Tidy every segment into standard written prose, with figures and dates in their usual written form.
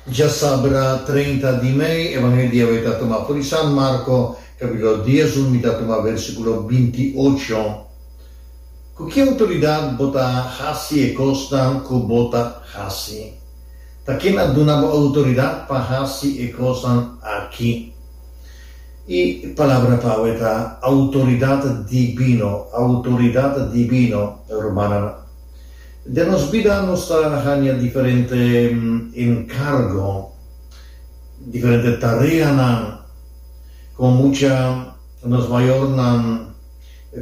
Djasabra 30 di mei, Evangelio di awe ta tuma for di San Marko, kapitulo 11, mi ta tuma versikulo 28. Ku ki outoridat bo ta hasi e kosnan ku bo ta hasi? Ta ken a duna bo outoridat pa hasi e kosnan aki? E palabra pa awe ta outoridat dibino, outoridat dibino, rumannan. Den nos bida nos ta haña diferente enkargo, diferente tareanan. Komo mucha nos mayornan,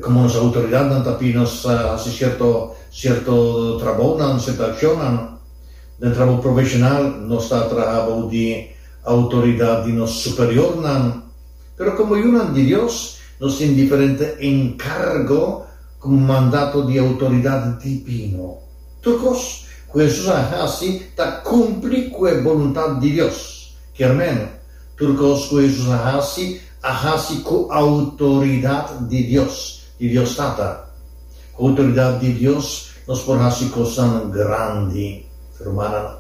komo nos outoridatnan ta pidi nos hasi sierto sierto trabounan, sierto akshonnan. Den trabou profeshonal nos ta traha bou di outoridat di nos superiornan. Pero komo yunan di Dios nos tin diferente enkargo Ku mandato di outoridat dibino. Tur kos ku Hesus a hasi ta kumpli ku e boluntat di Dios. Kier men, tur kos ku Hesus a hasi, a hasi ku outoridat di Dios, di Dios Tata. Ku outoridat di Dios nos por hasi kosnan grandi. Rumannan,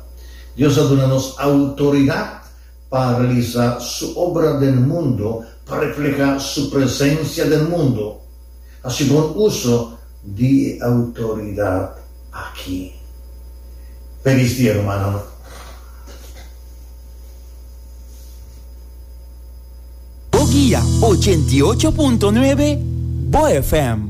Dios a duna nos outoridat pa realisá su obra den mundu, pa reflehá su presensia den mundu. Hasi bon uso di e outoridat aki. Felis dia, rumannan. Bo guia 88.9 Bo FM.